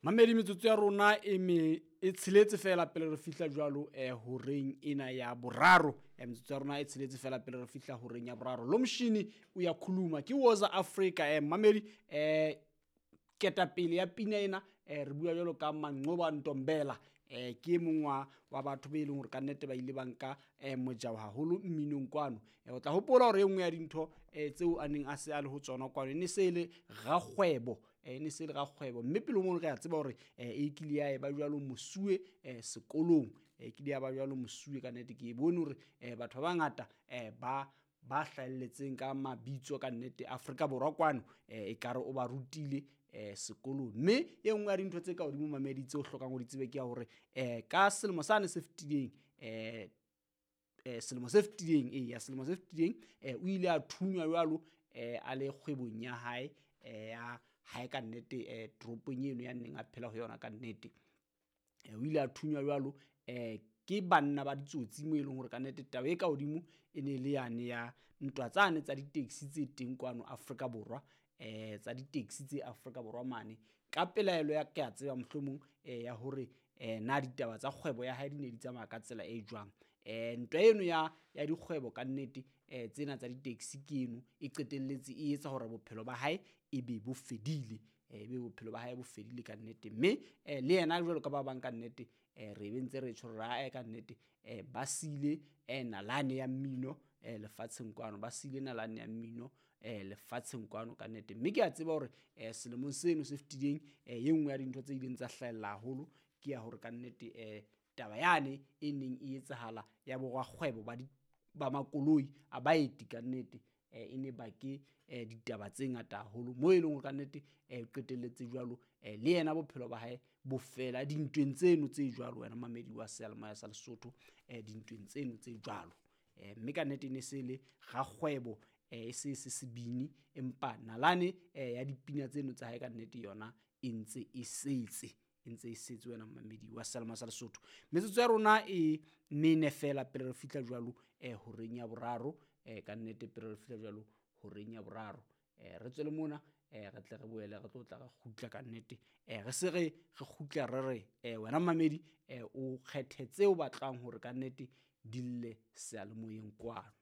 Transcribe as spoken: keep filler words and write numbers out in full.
Mamedi metsotso ya rona e me e tsheletse fela pele re fihla jwalo eh horeng ena ya boraro. Eh metsotso ya rona e tsheletse fela pele re fihla horeng ya boraro. Lomshini uyakhuluma ke Woza Africa. Eh mamedi eh ketapele ya pina ena eh re bua jwalo ka Manqoba Ntombela. Eh ke e mong wa wa batho be leng hore ka nnete ba ile ba nka eh mojao haholo mminong kwano. Eh o tla hopola hore e nngwe ya dintho eh tseo a neng a se a le ho tsona kwano e ne se le rakgwebo, eh ne se le rakgwebo, mme pele mono re a tseba hore eh e kile ya eba jwalo mosuwe eh sekolong, e kile ya ba jwalo mosuwe ka nnete. Ke e bone hore eh batho ba bangata eh ba ba hlahelletseng ka mabitso ka nnete Afrika Borwa kwano eh ekare o ba rutile eh sekolong. Mme e nngwe ya dintho tse ka hodimo mamedi tseo hlokang ho di tsebe ke ya hore eh ka selemo sane se fetileng eh eh selemo se fetileng eh ya selemo se fetileng eh o ile a thunywa jwalo eh a le kgwebong ya hae eh ya hae ka nnete eh toropong eno ya neng a phela ho yona ka nnete. Eh o ile a thunywa jwalo eh ke banna ba ditsotsi mo e leng hore ka nnete taba e ka hodimo e ne le yane ya ntwa tsane tsa di-taxi tse teng kwano Afrika Borwa, eh tsa di-taxi tse Afrika Borwa mane. Ka pelaelo ya ke a tseba mohlomong eh ya hore eh na ditaba tsa kgwebo ya hae di ne di tsamaya ka tsela e jwang. Eh ntwa eno ya ya dikgwebo ka nnete eh tsena tsa di-taxi ke eno e qetelletse e etsa hore bophelo ba hae e be bo fedile, e be bophelo ba hae bo fedile ka nnete. Mme eh le yena jwalo ka ba bang ka nnete eh re be ntse re tjho hore ae ka nnete eh ba sile eh nalane ya mmino eh lefatsheng kwano, ba sile nalane ya mmino eh lefatsheng kwano ka nnete. Mme ke a tseba hore eh selemong seno se fetileng eh e nngwe ya dintho tse ileng tsa hlahella haholo ke ya hore ka nnete eh taba yane e neng e etsahala ya borakgwebo ba di ba makoloi a baeti ka nnete eh e ne bake eh ditaba tse ngata haholo mo e leng hore ka nnete eh qetelletse jwalo eh le yena bophelo ba hae bo fela dintweng tseno tse jwalo. Wena mamedi wa seyalemoya sa Lesotho eh dintweng tseno tse jwalo eh mme ka nnete e ne se le rakgwebo eh e se se sebini, empa nalane eh ya dipina tseno tsa hae ka nnete yona e ntse e setse, e ntse e setse wena mamedi wa seyalemoya sa Lesotho. Metsotso ya rona e mene fela pele re fihla jwalo eh horeng ya boraro, eh ka nnete pele re fihla jwalo horeng ya boraro eh re tswele mona eh re tle re boele re tlo tla re kgutla ka nnete eh re se re re kgutla re re eh wena mamedi eh o kgethe tseo batlang hore ka nnete di lle seyalemoyeng kwano.